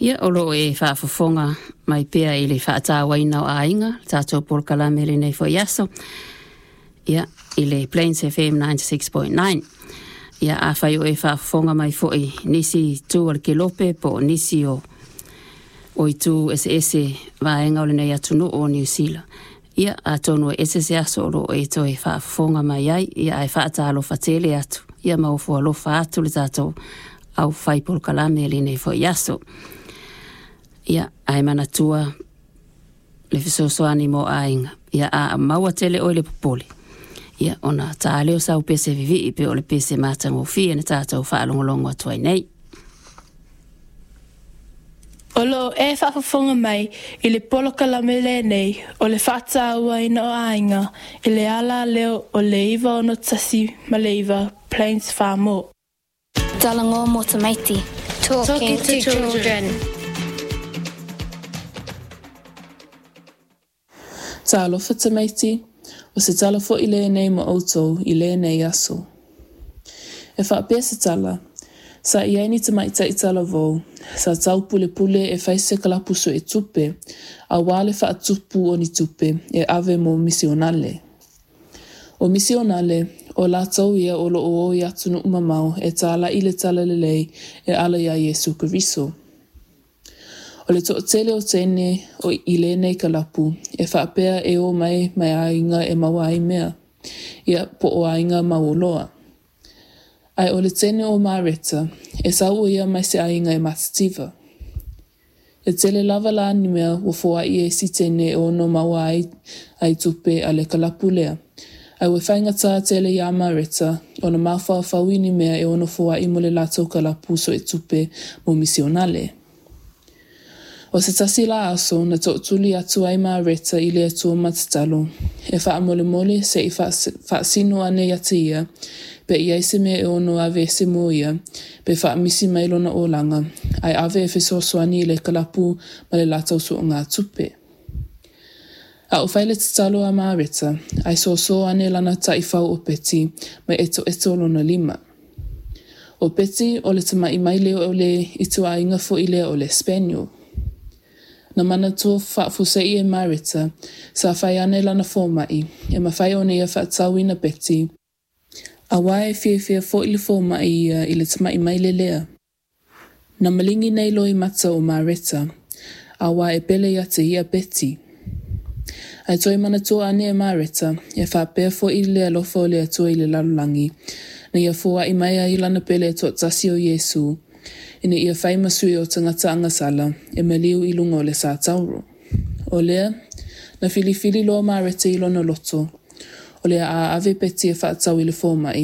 Ia, o lo o e faafofoga mai pea i le faatauaina o aiga, le tatou polokalame i lenei foi aso, ia, i le Plains FM 96.9. Ia, afai o e faafofoga mai foi i nisi itu o le kelope po o nisi o itu eseese vaega o lenei atunuu o Niu Sila, ia, atonu e ese se aso o lo o e toe faafofoga mai ai, ia, ae faatalofa tele atu, ia ma ofo alofa atu le tatou aufai polokalame i lenei foi aso. Ia, ae manatua le fesoasoani mo aiga, ia a maua tele oe le popole, ia ona ta lea o sau pese vivii pe o le pese matagofie na tatou faalogologo atu ai nei. O lo o e faafofoga mai i le polokalame lenei o le Faatauaina o Aiga i le alaleo o le 96.9 Plains Farmore. Talanoa mo tamaiti. Talking to children. Talofa tamaiti, o se tala foʻi lenei mo ʻoutou i lenei aso. E faapea se tala, sa i ai ni tamaitai talavou sa taupulepule e fai se kalapu suetupe auā le faatupu o ni tupe e ave mo misionale. O misionale, o latou ia o lo o o i atunuu mamao e tālaʻi le talalelei e ala iā Iesu Keriso. O le toatele o teine o i lenei kalapu e faapea e o mai mai aiga e maua ai mea, ia po o aiga mauoloa. Ae o le teine o Mareta, e sau ʻo ia mai se aiga e matitiva. E tele lava la ni mea ua foai e isi teine e ono maua ai tupe a le kalapu lea, ae ua faigata tele iā Mareta ona mafaufau i ni mea e ono foai mo le latou kalapu suetupe mo misionale. O se tasi la aso na tootuli atu ai Mareta i le Atua ma tatalo, e faamolemole se i faasino ane ia te ia, pe i ai se mea e ono aveese mo ia, pe faamisi mai lona olaga, ae ave e fesoasoani i le kalapu ma le latou suegatupe. A o fai le tatalo a Mareta, ae sōsō ane lana taifau o Peti ma etoeto lona lima. O Peti o le tamaʻi maile o le ituaiga foi lea o le spaniel. Na manatua faafuasei e Mareta, sa fai ane lana fomai, e mafai ona ia faatauina Peti, auā e fiafia foi le fomai ia i le tamaʻi maile lea. Na maligi nei loimata o Mareta, auā e pele ia te ia Peti. Ae toe manatua ane e Mareta, e faapea foi le alofa o le Atua i le lalolagi, na ia foai mai ai lana pele e toatasi o Iesu, ina ia fai ma sui o tagata agasala e maliu i luga o le satauro. O lea, na filifili loa Mareta i lona loto, o le a ave Peti e faatau i le fomai,